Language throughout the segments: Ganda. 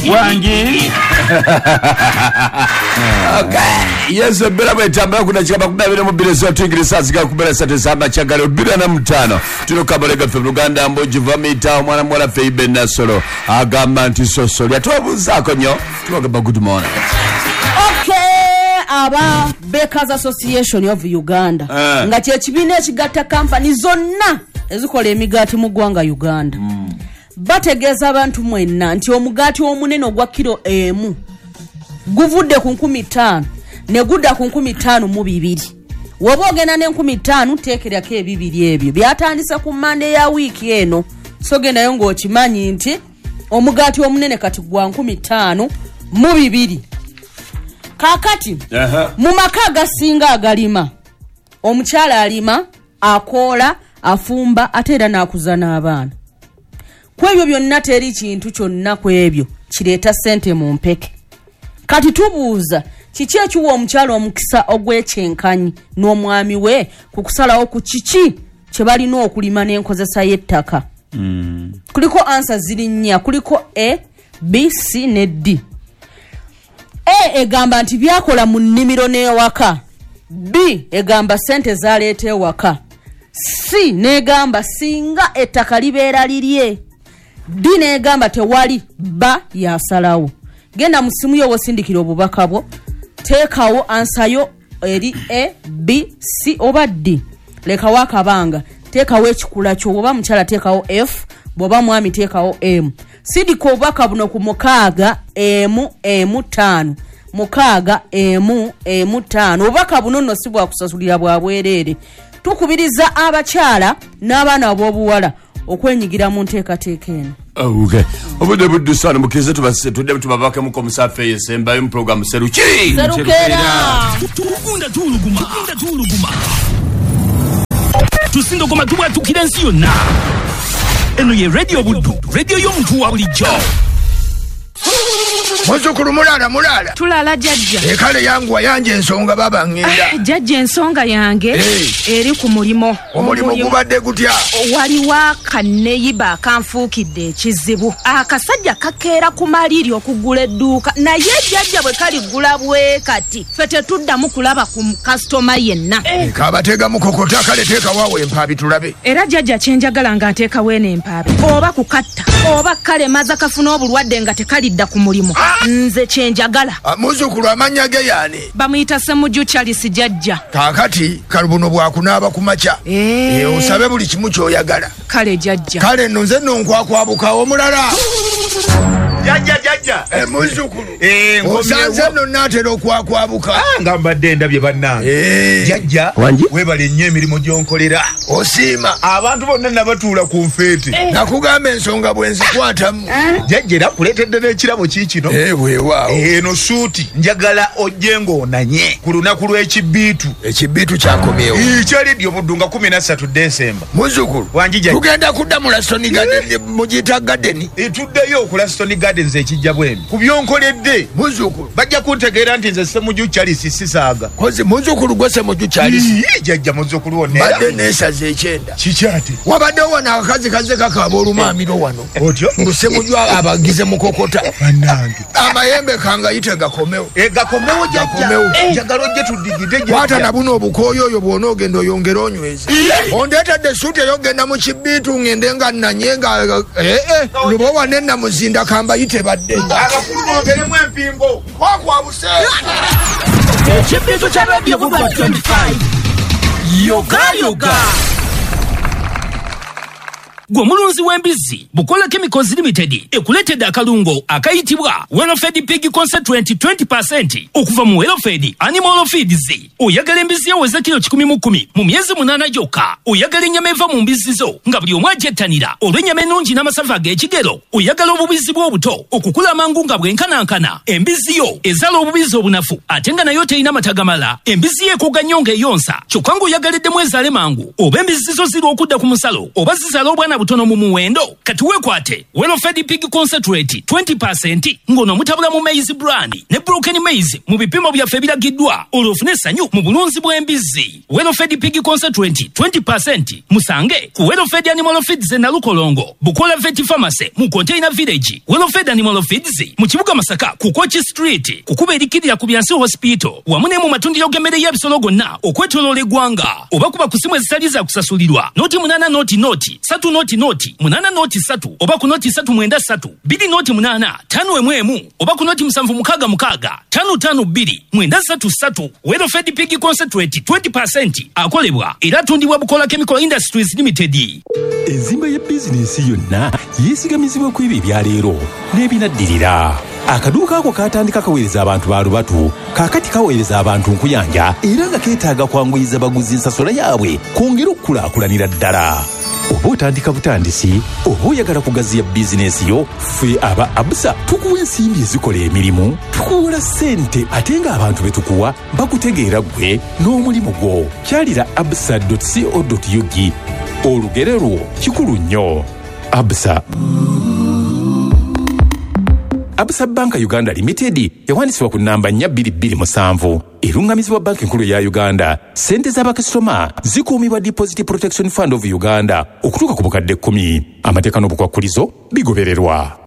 Wangi. Okay. Yes, bera bwetambula kuna chikaba kubabira mu bireso tuyingirisa ziga kubera sate samba chagalo 25. Tulokabalega ffe Luganda mboji vamita omwana mwala Feibe Nasolo agamba nti sosolya tubabuzaako nnyo tubagamba good morning. Okay, aba Bakers Association of Uganda nga kye kibiina ekigatta kampani zonna ezikola emigaati mu ggwanga Uganda. Bategeeza abantu mwenna nti omugaati omunene ogwa kilo 1 guvudde ku 5,000 ne gudda ku 5,200. Woba ogenda ne 5,000 teekerako ebibiri ebyo byatandise ku Mande ya wiiki eno. So gendayo ng'okimanyi nti omugaati omunene kati gwa 5,200. Kaakati mu maka agasinga agalima, omukyala alima, akoola, afumba ate era n'akuza n'abaana. Ku ebyo byonna teri kintu kyonna ku ebyo kireeta ssente mu mpeke. Kati tubuuza kiki ekiwa omukyala omukisa ogw'ekyenkanyi n'omwami we ku kusalawo ku kiki kye balina okulima n'enkozesa y'ettaka. Kuliko ansa ziri nnya, kuliko A, B, C ne D. A egamba nti byakola mu nnimiro n'ewaka. B egamba ssente zaleeta ewaka. C n'egamba singa ettaka libeera lirye. D n'egamba tewali ba yasalawo. Genda mu simu yo wosindikira obubaka bwo, teekawo ansayo eri A, B, C oba D. Lekawo akabanga, teekawo ekikula kyo, oba mukyala teekawo F, bw'oba mwami teekawo M. Sindika obubaka buno ku 6 M M 5 6 M M 5. Obubaka buno nno si bwa kusasulira bwa bwereere. Tukubiriza abakyala n'abaana ab'obuwala okwenyigira mu nteekateeka eno. Okay. Obudde buddusano mukize tubase tudde tubabake musafe yesembayo mu program Seruki. Serukera. Tugunda tuluguma. Tugunda tuluguma. Tusindogoma tubwatukira ensi yonna. Eno ye Radio Buddu, radio y'omuntu wa bulijjo. Muzukulu mulala mulala. Tulala jajja. Ekale yangu yanje ensonga baba ngenda. Jajja ensonga yange eri ku mulimo. Omulimo gubadde gutya? Waliwo akanneyiba akanfuukidde ekizibu. Akasajja kakeera ku maliri okugula edduuka naye jajja bwe kaligula bwe kati ffe tetuddamu kulaba ku kasitoma yenna. Kabatega mukokota kale teeka waawe empaabi tulabe. Era jajja kye njagala nga nteekawo eno empaabi oba kukatta oba kalemaza kafuna obulwadde nga tekalidda ku mulimu. Nze kye njagala. Muzukulu amannya ge yaani? Bamuyita Ssemujju Charles jajja. Kaakati kalubuno bwakunaaba ku makya. Osabe buli kimu ky'oyagala. Kale jajja. Kale nno nze nno nkwakwabukawo omulala. Jajja jajja. Muzukulu. Osanze nno naatera okwakwabuka. Nga mbadde ndabye bannange. Jajja weebale nnyo emirimu gy'onkolera. Osiima. Abantu bonna nabatuula ku nfeete. Nakugamba ensonga bwe nzikwatamu. Jajja era nkuleetedde n'ekirabo kiikino. Weewaawo. Eno suuti njagala ojje ng'onanye ku lunaku lw'ekibbiitu. Ekibbiitu kyakomyewo. Ekya Radio Buddu nga 13 Desemba. Muzukulu. Wangi jajja. Tugenda kudda mu Laston Garden mugiyita Garden. Tuddeyo ku Laston Gardens ekijja bwemi. Ku byonkoledde. Muzukulu. Bajja kuntegeera nti nze Ssemujju Charles sisaaga. Kozi muzukulu gwe Ssemujju Charles. Jajja muzukulu wonna. Badde neesaze ekyenda. Kiki ate? Wabaddewo wano akakazi kazze kakaaba olumaamiro wano. Otyo? Mbu Ssemujju abagize mukokota. Bannange. Amayembe kangayite gakomewo. Gakomewo jajja. Njagala ojje tuddigide jajja. Kwata na buno obukooyi oyo bw'onoogenda oyongere onyweze. Ondeetedde essuuti ey'okugenda mu kibbiitu ngende nga nnanye nga lubowa ne Namuzinda kambayite badde. Abakulu bongeremu empingo. Kwakwabuse. Ekibbiitu kya Radio Buddu 25. Yoga yoga. Gwe mulunzi w'embizzi Bukola Chemicals Limited ekuleetedde akalungo akayitibwa Wellfed Pig Concentrate 20% okuva mu Wellfed Animal Feeds. Oyagala embizzi eweza kilo 110 mu myezi 8 gyokka. Oyagala ennyama eva mu mbizzi zo nga buli omu agyettanira olw'ennyama ennungi n'amasavu ag'ekigero. Oyagala obubizzi bw'obuto okukula amangu nga bwenkanankana. Embizzi yo ezaala obubizzi obunafu ate nga nayo terina mata gamala. Embizzi yo ekogga nnyo ng'eyonsa kyokka ng'oyagaliddemu ezaale mangu. Oba embizzi zo zirwa okudda ku musalo oba zizaala obwana Teyenkana butono mu muwendo. Kati weekwate Welfed Pig Concentrate 20% ng'ono mutabula mu maize bran ne broken maize mu bipimo byaffe ebiragiddwa, olwo ofune essanyu mu bulunzi bw'embizzi. Welfed Pig Concentrate 20% musange ku Welfed Animal Feeds e Nalukolongo, Bukola Vet Pharmacy mu Container Village, Welfed Animal Feeds mu kibuga Masaka ku Kochi Street, kukuba erikirira ku Byansi Hospital, wamu ne mu matundiro g'emmere y'ebisolo gonna okwetooloola eggwanga. Oba kuba ku simu ezitali za kusasulirwa 08 0 0 3 0 0 8 0 3 oba ku 0 3 9 3 2 0 8 5 1 oba ku 0 7 6 6 5 5 2 9 3 3. Welfed Pig Concentrate 20% akolebwa era atundibwa Bukola Chemical Industries Limited. Enzimba ya bizinensi yonna yeesigamizibwa ku ebyo ebyaleero n'ebinaddirira. Akaduuka ako kaatandika kaweereza abantu ba lubatu, kaakati kaweereza abantu nkuyanja, era nga keetaaga kwanguyiza baguzi ensasula yaabwe kwongera okukulaakulanira ddala. Oba otandika butandisi, oba oyagala kugaziya bizinensi yo, ffe aba Absa tukuwa ensimbi ezikola emirimu, tukuwola ssente ate ng'abantu be tukuwa bakutegeera ggwe n'omulimu gwo. Kyalira absa.co.ug. Olugero lwo kikulu nnyo. Absa. Absa Bank Uganda Limited yawandiisibwa ku namba 4227, erungamizibwa Banki Enkulu ya Uganda. Ssente z'abakasitoma zikuumibwa Deposit Protection Fund of Uganda okutuuka ku bukadde 10. Amateeka n'obukwakkulizo bigobererwa.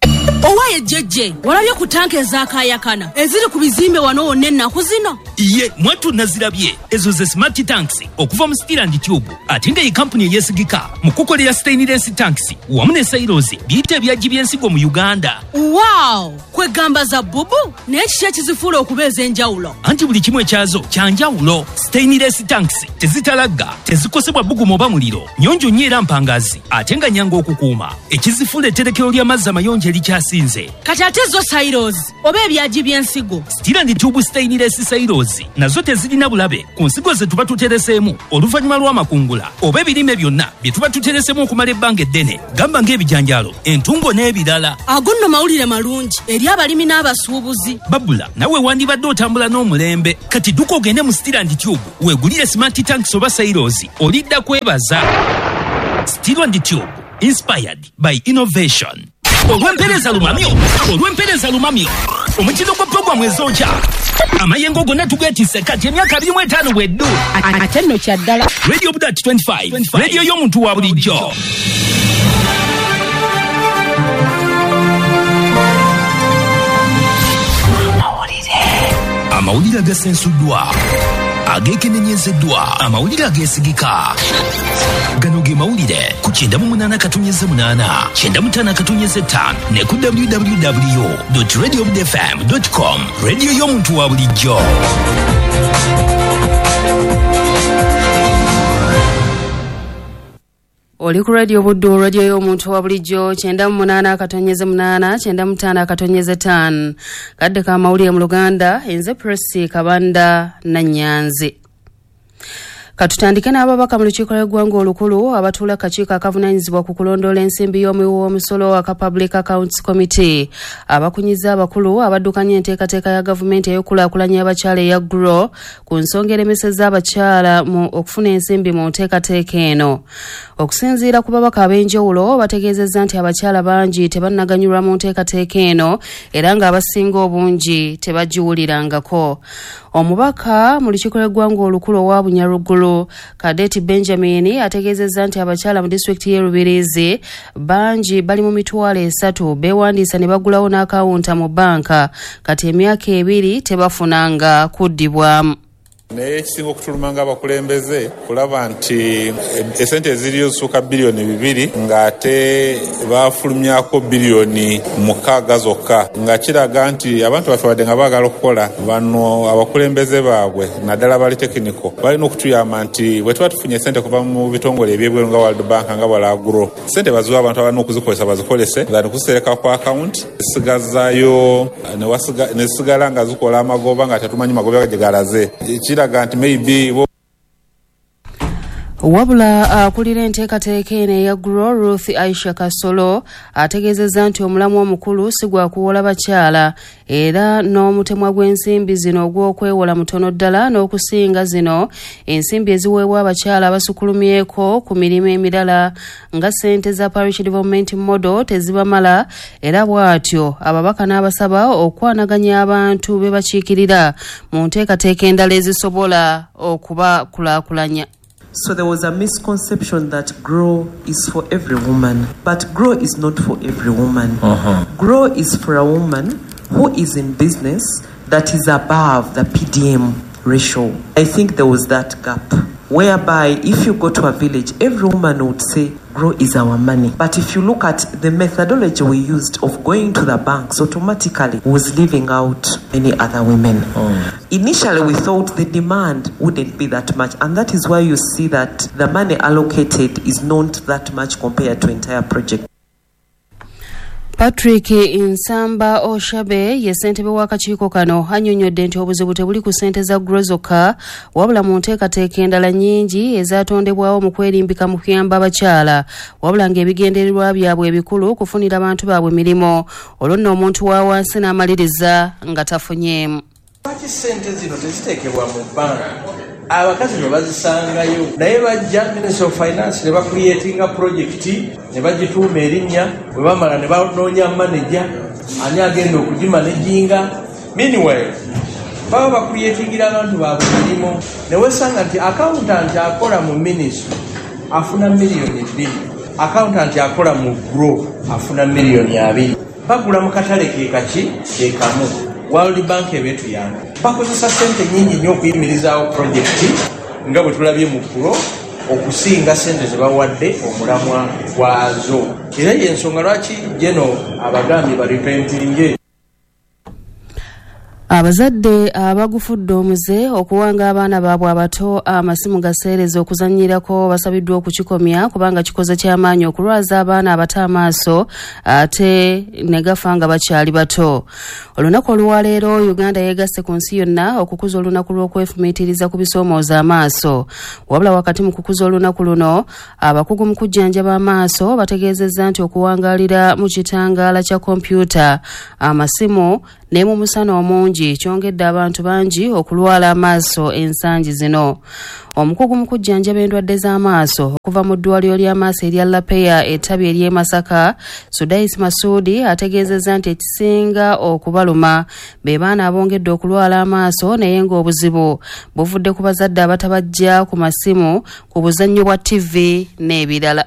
Owaye jjejje, walabye ku tanka ezakayakana eziri ku bizimbe wano wonna ennaku zino? Ye mwattu nazirabye. Ezo ze smart tanks okuva mu Steel and Tube, ate nga ye kampuni eyeesigika mu kukolera stainless tanks wamu ne silos biyita ebyagi by'ensigo mu Uganda. Wow, kwegamba za bubu, naye kiki ekizifuula okuba ez'enjawulo? Anti buli kimu ekyazo kya njawulo. Stainless tanks tezitalagga, tezikosebwa bbugumu oba muliro, nnyonjo nnyo era mpangazi, ate nga nnyangu okukuuma. Ekizifuula etterekero ly'amazzi amayonjo erikyasinze. Kati ate zo silos oba ebyagi by'ensigo? Steel and Tube stainless silos nazo tezirina bulabe ku nsigo ze tuba tutereseemu oluvannyuma lw'amakungula oba ebirime byonna bye tuba tutereseemu okumala ebbanga eddene, gamba ng'ebijanjaalo, entungo n'ebirala. Ago nno mawulire malungi eri abalimi n'abasuubuzi. Babula nawe wandibadde otambula n'omulembe. Kati dduka ogende mu Steel and Tube weegulire smart tanks oba silos, olidda kwebaza. Steel and Tube, inspired by innovation. Olw'empeereza lumamyo, olw'empeereza lumamyo, omutindo gwa puroguramu ezokya amayengo gonna tugeetisse kati emyaka 25 bweddu. Ate nno kya ddala. Radio Budat 25, radio y'omuntu wa bulijjo. Amawulire agasensuddwa, ageekenenyezeddwa, amawulire ageesigika. Gano ge mawulire ku 98.8, 95.5 ne ku www.radiobudfm.com. Radio y'omuntu wa bulijjo. Oli ku Radio Buddu, radio y'omuntu wa bulijjo, 98.8, 95.5. Kadde ka mawulire mu Luganda, enze Presi Kabanda na Nyanzi. Katutandike n'ababaka mu lukiiko lw'eggwanga olukulu abatuula kakiiko akavunaanyizibwa ku kulondoola ensimbi y'omuwi w'omusolo aka Public Accounts Committee abakunyiza abakulu abaddukanya enteekateeka ya gavumenti ey'okukulaakulanya abakyala eya GROW ku nsonga eremeseza abakyala mu okufuna ensimbi mu nteekateeka eno. Okusinziira ku babaka ab'enjawulo bategeezezza nti abakyala bangi tebannaganyulwa mu nteekateeka eno era ng'abasinga obungi tebagiwulirangako. Omubaka mu lukiiko lw'eggwanga olukulu owa Bunyarugulu Kadeti Benjamin ategeezezza nti abakyala mu disitulikiti y'e Rubirizi bangi bali mu 300,000 beewandiisa ne bagulawo n'akawunta mu bbanka, kati emyaka 2 tebafunanga kuddibwamu. Naye ekisinga okutuluma ng'abakulembeze kulaba nti esente eziriyo zisukka 2 biliyoni ng'ate bafulumyako 6 biliyoni zokka, nga kiraga nti abantu baffe badde nga baagala okukola. Bano abakulembeze baabwe naddala bali tekiniko balina okutuyamba nti bwe tuba tufunye esente kuva mu bitongole ebyebweru nga World Bank nga Balagro, sente baziwa abantu abalina okuzikozesa bazikolese than kuzisereka ku akawunti zisigazayo ne zisigala nga zikola amagoba nga tetumanyi magoba gye galaze. Kiraga nti maybe Wabula akulira enteekateeka eno eya Grow Ruth Aisha Kasolo ategeezezza nti omulamwa omukulu si gwa kuwola bakyala era n'omutemwa gw'ensimbi zino ogw'okwewola mutono ddala n'okusinga zino ensimbi eziweebwa abakyala abasukulumyeko ku mirimu emirala nga ssente za Parish Development Model tezibamala, era bw'atyo ababaka n'abasaba okwanaganya abantu be bakiikirira mu nteekateeka endala ezisobola okubakulaakulanya. So there was a misconception that Grow is for every woman, but Grow is not for every woman. Grow is for a woman who is in business that is above the PDM ratio. I think there was that gap, whereby if you go to a village, every woman would say, Grow is our money. But if you look at the methodology we used of going to the banks, automatically was leaving out many other women. Initially, we thought the demand wouldn't be that much, and that is why you see that the money allocated is not that much compared to entire project. Patrick Nsamba Oshabe ye ssentebe w'akakiiko kano annyonnyodde nti obuzibu tebuli ku ssente za Grow zokka, wabula mu nteekateeka endala nnyingi ezaatondebwawo mu kwerimbika mu kuyamba abakyala, wabula ng'ebigendererwa byabwe ebikulu kufunira abantu baabwe mirimu, olwo nno omuntu wa wansi n'amaliriza nga tafunyeemu. Lwaki ssente zino teziteekebwa mu bbanka? Abakazi ne bazisangayo, naye bajja Ministry of Finance ne bacreatinga project ne bagituuma erinnya, bwe bamala ne banoonya manager ani agenda okugimanaginga. Meanwhile baba bacreatingira abantu baabwe mirimu, ne weesanga nti accountant akola mu ministry afuna miliyoni 2, accountant akola mu Grow afuna miliyoni 2. Bagula mu katale ke kaki ke kamu. World Bank ebetuyamba bakozesa ssente nnyingi nnyo okuyimirizaawo projekiti nga bwe tulabye mu Grow okusinga ssente ze bawadde omulamwa gwazo. Era y'ensonga lwaki geno abagambye baripentinge. Abazadde abagufudde omuze okuwanga abaana baabwe abato amasimu gaseereza okuzannyirako basabiddwa okukikomya kubanga kikoze ky'amaanyi okulwaza abaana abato amaaso ate ne gafa nga bakyali bato. Olunaku olwaleero Uganda yeegasse ku nsi yonna okukuza olunaku lw'okwefumiitiriza ku bisoomooza amaaso. Wabula wakati mu kukuza olunaku luno, abakugu mu kujjanjaba amaaso bategeezezza nti okuwangaalira mu kitangaala kya kompyuta, amasimu ne mu musana omungi kyongedde abantu bangi okulwala amaaso ensangi zino. Omukugu mu kujjanjaba endwadde z'amaaso okuva mu ddwaliro ly'amaaso erya Lapeya ettabi ery'e Masaka, Sudais Masudi ategeezezza nti ekisinga okubaluma be baana abongedde okulwala amaaso, naye ng'obuzibu buvudde ku bazadde abatabajja ku masimu, ku buzannyo bwa TV n'ebirala.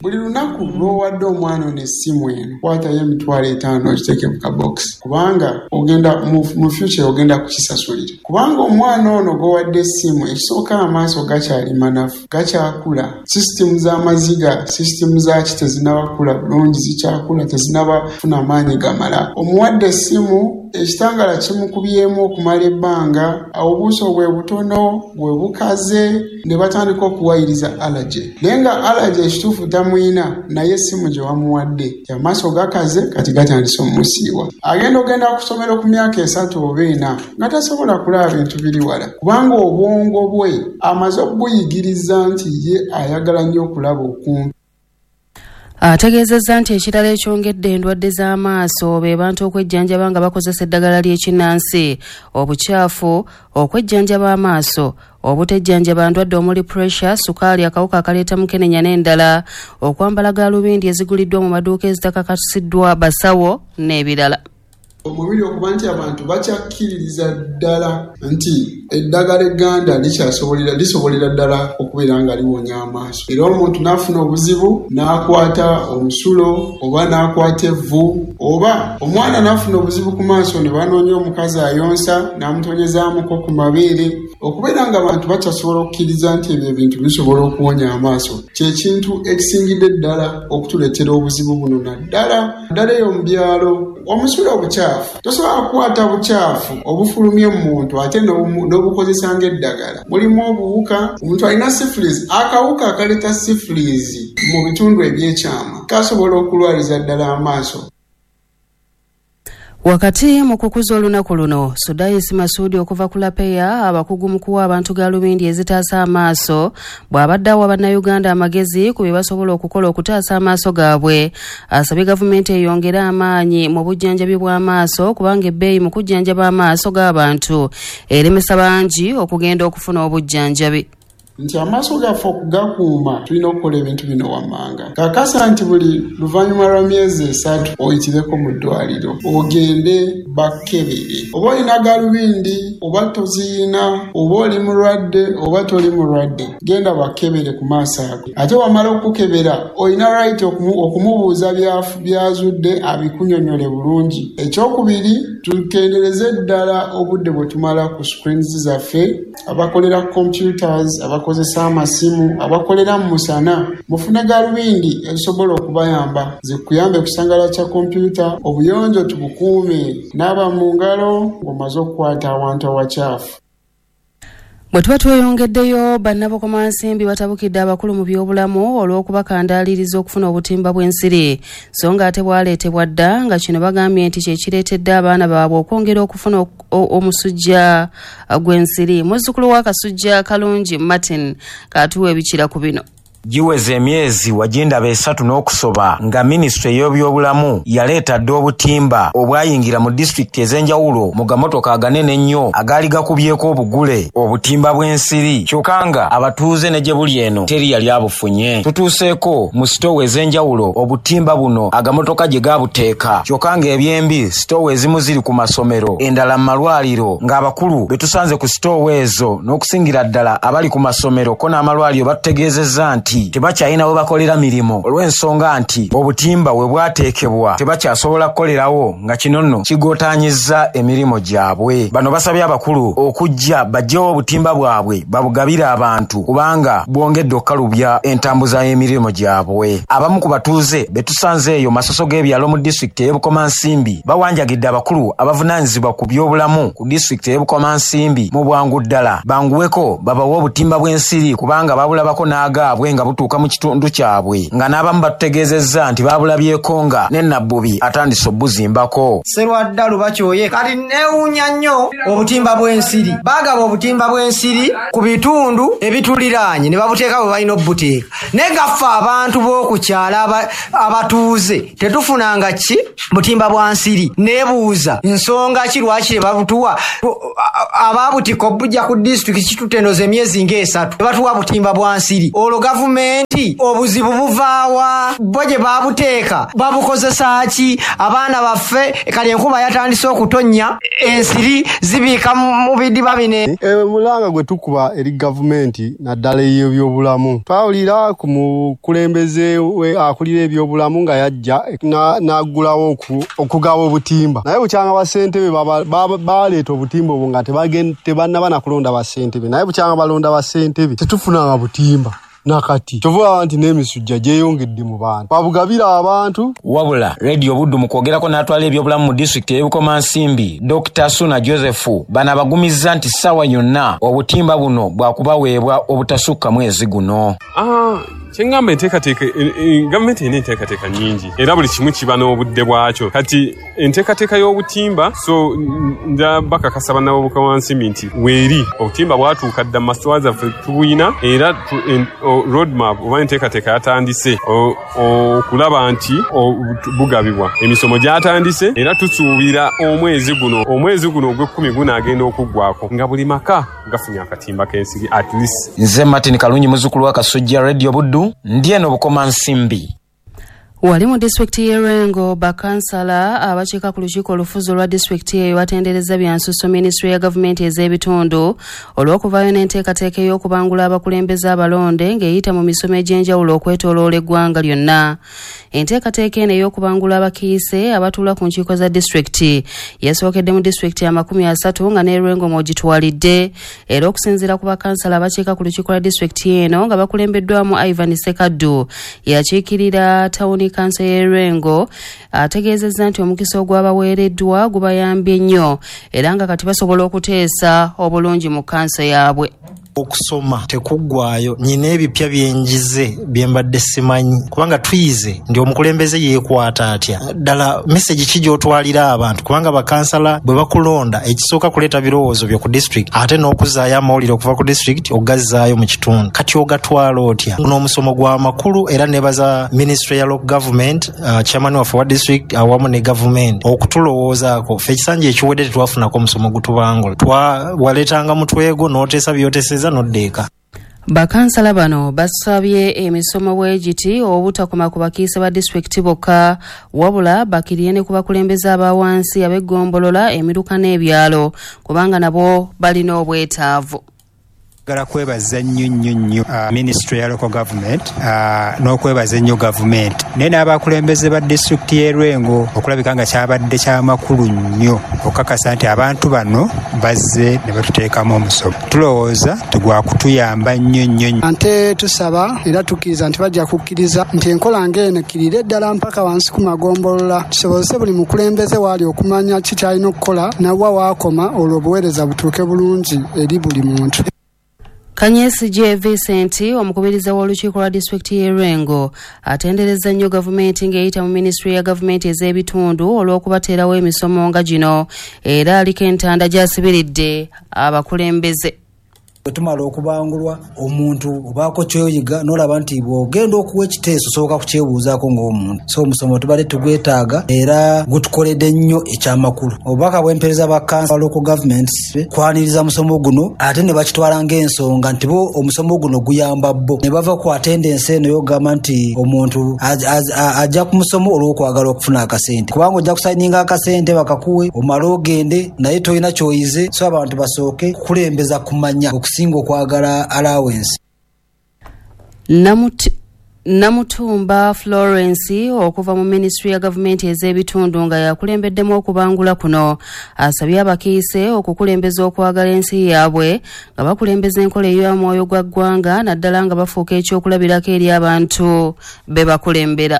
Buli lunaku lw'owadde omwana ono essimu eno, kwatayo 50,000 ogiteeke mu kabokisi, kubanga ogenda mu future ogenda kukisasulira. Kubanga omwana ono gw'owadde essimu, ekisooka amaaso gakyali manafu, gakyakula, sisitimu z'amaziga, sisitimu zaaki tezinnaba bulungi, zikyakula, tezinnaba kufuna maanyi gamala. Omuwadde essimu, ekitangala kimukubyemu okumala ebbanga, obuuso bwe butono, bwe bukaze, ne batandika okuwayiriza allergy. Naye nga allergy ekituufu tamuyina, naye essimu gye wamuwadde amaaso gakaze, kati gatandise omusiiwa. Agenda ogenda ku ssomero ku myaka 3 oba 4 nga tasobola kulaba bintu biri wala, kubanga obwongo bwe amaze okubuyigiriza nti ye ayagala nnyo okulaba okumpi. Ategeezezza nti ekirala ekyongedde endwadde z'amaaso be bantu okwejjanjaba nga bakozesa eddagala ly'ekinnansi, obukyafu, okwejjanjaba amaaso, obutejjanjaba ndwadde omuli pressure, sukaali, akawuka akaleeta mukenenya n'endala, okwambala gaalubindi eziguliddwa mu maduuka ezitakakasiddwa basawo n'ebirala. Omubiri okuba nti abantu bakyakkiririza ddala nti eddagala egganda lisobolera ddala okubeera nga liwonya amaaso. Era omuntu n'afuna obuzibu n'akwata omusulo oba n'akwata evvu, oba omwana n'afuna obuzibu ku maaso ne banoonya omukazi ayonsa n'amutonyezaamuko ku mabeere. Okubeera nga abantu bakyasobola okukkiriza nti ebyo ebintu bisobola okuwonya amaaso kye kintu ekisingidde ddala okutuleetera obuzibu buno, naddala ddala eyo mu byalo. Omusulo obukyafu, tosobola kukwata bukyafu obufulumye mu muntu ate n'obukozesa ng'eddagala. Mulimu obuwuka, omuntu alina syphilis, akawuka akaleeta syphilis mu bitundu ebyekyama kasobola okulwaliza ddala amaaso. Wakati mu kukuza olunaku luno, Sudais Masudi okuva ku Lapeya, abakugu mu kuwa abantu gaalubindi ezitaasa amaaso, bw'abadde awa Bannayuganda amagezi ku bye basobola okukola okutaasa amaaso gaabwe, asabye gavumenti eyongere amaanyi mu bujjanjabi bw'amaaso kubanga ebbeeyi mu kujjanjaba amaaso g'abantu eremesa bangi okugenda okufuna obujjanjabi. Nti amaaso gaffe okugakuuma tulina okukola ebintu bino wammanga. Kakasa nti buli luvannyuma lwa myezi 3 oyitireko mu ddwaliro ogende bakkebere. Oba olina gaalubindi oba toziyina, oba oli mulwadde oba toli mulwadde, genda bakkebere ku maaso ago. Ate wamala okukebera olina right okumubuuza byazudde abikunyonyole bulungi. Ekyokubiri, tukendereze ddala obudde bwe tumala ku screens zaffe, abakolera computers, abakozesa amasimu, abakolera mu musana. Mufune gaalubindi ezisobola okubayamba, zikuyambe kusangala kya kompyuta. Obuyonjo tubukuume, naaba mu ngalo ng'omaze okukwata awantu awakyafu. Bwe tuba tweyongeddeyo, bannabukomansimbi batabukidde abakulu mu byobulamu olw'okubakandaaliriza okufuna obutimba bw'ensiri, so ng'ate bwaleetebwa dda, nga kino bagambye nti kye kireetedde abaana baabwe okwongera okufuna omusujja gw'ensiri. Muzzukulu wa Kasujja Kalungi Martin katuwa ebikira ku bino. Giweze emyezi wagindaba 3 n'okusoba nga minisitule y'ebyobulamu yaleeta dda obutimba obwayingira mu disitulikiti ez'enjawulo mu gamotoka aganene ennyo agaali gakubyeko obugule obutimba bw'ensiri, kyokka nga abatuuze ne gye buli eno teri yali abufunye. Tutuuseeko mu sitoowa ez'enjawulo obutimba buno agamotoka gye gabuteeka, kyokka ng'ebyembi sitoowa ezimu ziri ku masomero, endala mu malwaliro, ng'abakulu be tusanze ku sitoowa ezo n'okusingira ddala abali ku masomero ko n'amalwaliro batutegeezezza nti tebakyalina we bakolera mirimu olw'ensonga nti obutimba we bwateekebwa tebakyasobola kukolerawo, nga kino nno kigootaanyizza emirimu gyabwe. Bano basabye abakulu okujja baggyewo obutimba bwabwe babugabire abantu kubanga bwongedde okukalubya entambuza y'emirimu gyabwe. Abamu ku batuuze be tusanze eyo masoso g'ebyalo mu disitulikiti ey'e Bukomansimbi bawanjagidde abakulu abavunaanyizibwa ku byobulamu ku disitulikiti ey'e Bukomansimbi mu bwangu ddala banguweko babawe obutimba bw'ensiri kubanga babulabako n'agaabwe nga butuuka mu kitundu kyabwe, nga n'abamu batutegeezezza nti babulabyeko nga ne Nabbubi atandise obuzimbako. Serwadda Lubakyoye kati neewuunya nnyo obutimba bw'ensiri. Baagaba obutimba bw'ensiri ku bitundu ebituliraanye ne babuteeka bwe balina obuteeka, naye gaffe abantu b'oku kyalo abatuuze tetufunanga ki butimba bwa nsiri. Neebuuza nsonga ki lwaki tebabutuwa? Abaabutikka obujja ku disitulikiti kitutenoza emyezi ng'esatu tebatuwa butimba bwa nsiri. Olwo gavumenti obuzibu buvaawa? Bo gye babuteeka babukozesa ki? Abaana baffe kale enkuba yatandise okutonnya, ensiri zibiika mu bidiba bino. Omulanga gwe tukuba eri gavumenti naddala ey'ebyobulamu, twawulira ku mukulembeze akulira ebyobulamu nga yajja n'aggulawo okugaba obutimba, naye bukyanga bassentebe baleeta obutimba obwo nga tebannaba na kulonda bassentebe, naye bukyanga balonda bassentebe tetufunanga butimba. Nakati kyova nti n'emisujja gyeyongedde mu bantu, babugabira abantu. Wabula Radio Buddu mu kwogerako n'atwala ebyobulamu mu disitulikiti ey'e Bukomansimbi, Dr. Suna Joseph, bano abagumizza nti ssaawa yonna obutimba buno bwakubaweebwa obutasukka mwezi guno. Kyengamba enteekateeka, gavumenti erina enteekateeka nnyingi era buli kimu kiba n'obudde bwakyo. Kati enteekateeka y'obutimba, so nja bakakasa bannabukomansimbi nti weeri obutimba bwatuuka dda mu masitoowa zaffe tubuyina, era roadmap oba enteekateeka yatandise okulaba nti bugabibwa. Emisomo gyatandise era tusuubira omwezi guno ogw'ekkumi gunaagenda okuggwako nga buli maka gafunye akatimba k'ensiri at least. Nze Martin Kalungi muzzukulu wa Kasujja, Radio Buddu, ndi eno Bukomansimbi. Wali mu disitulikiti y'e Lwengo, bakansala abakiika ku lukiiko olufuzi olwa disitulikiti eyo batendereza byansusso minisitule ya gavumenti ez'ebitundu olw'okuvaayo n'enteekateeka ey'okubangula abakulembeze abalonde ng'eyita mu misomo egy'enjawulo okwetooloola eggwanga lyonna. Enteekateeka eno ey'okubangula abakiise abatuula ku nkiiko za disitulikiti yasookedde mu disitulikiti 30 nga n'e Lwengo mw'ogitwalidde, era okusinziira ku bakansala abakiika ku lukiiko lwa disitulikiti eno nga bakulembeddwamu Ivan Sekaddu yakiikirira tawuni kanso y'e Lwengo, ategeezezza nti omukisa ogwabaweereddwa gubayambye nnyo era nga kati basobola okuteesa obulungi mu kanso yaabwe. Okusoma tekuggwayo, nyina ebipya byenjize bye mbadde simanyi, kubanga tuyize nti omukulembeze yeekwata atya. Ddala message ki gy'otwalira abantu, kubanga bakansala bwe bakulonda ekisooka kuleeta birowoozo byo ku district, ate n'okuzaayo amawulire okuva ku district ogazzaayo mu kitundu. Kati ogatwala otya? N'omusomo gwa makulu, era nebaza ministry ya local government, chairman waffe wa district awamu ne gavumenti okutulowoozaako. Ffe ekisanja ekiwedde tetwafunako omusomo gutubangula, twawaleetanga mutwego n'oteesa by'oteeseza n'odda eka. Bakansala bano basabye emisomo bwegiti obutakoma ku bakiise ba disitulikiti bokka, wabula bakiriye ne ku bakulembeze aba wansi ab'eggombolola, emiruka n'ebyalo, kubanga nabo balina obwetaavu. Njagala kwebaza nnyo nnyo nnyo ministry ya local government n'okwebaza ennyo gavumenti naye n'abakulembeze ba disitulikiti y'e Lwengo okulabika nga kyabadde kyamakulu nnyo okukakasa nti abantu bano bazze ne batuteekamu omusomo. Tulowooza tegwakutuyamba nnyo nnyo. Ate tusaba era tukkiriza nti bajja kukkiriza nti enkola ng'eno ekkirire ddala mpaka wansi ku magombolola, tusobozese buli mukulembeze waali okumanya ki ky'alina okukola nawa waakoma, olwo obuweereza butuuke bulungi eri buli muntu. Kanyesije Vincent, omukubiriza w'olukiiko lwa disitulikiti y'e Lwengo, atenderezza nnyo gavumenti ng'eyita mu minisitule ya gavumenti ez'ebitundu olw'okubateerawo emisomo nga gino, era aliko entanda gy'asibiridde abakulembeze. Bwe tumala okubangulwa, omuntu obaako kyoyiga n'olaba nti bw'ogenda okuwa ekiteeso osooka kukyebuuzaako ng'omuntu. So omusomo tubadde tugwetaaga era gutukoledde nnyo ekyamakulu. Obubaka bw'empeereza ba kansa local governments kwaniriza musomo guno, ate ne bakitwala ng'ensonga nti bo omusomo guno guyamba bo ne bava ku attendance eno y'okugamba nti omuntu ajja ku musomo olw'okwagala okufuna akasente, kubanga ojja kusayininga akasente bakakuwe omale ogende naye tolina ky'oyize. So abantu basooke kukulembeza kumanya okusinga okwagala allowance. Namutumba Florence okuva mu minisitule ya gavumenti ez'ebitundu nga yakulembeddemu okubangula kuno, asabye abakiise okukulembeza okwagala ensi yaabwe nga bakulembeza enkola ey'omwoyo gwa ggwanga, naddala nga bafuuka ekyokulabirako eri abantu be bakulembera.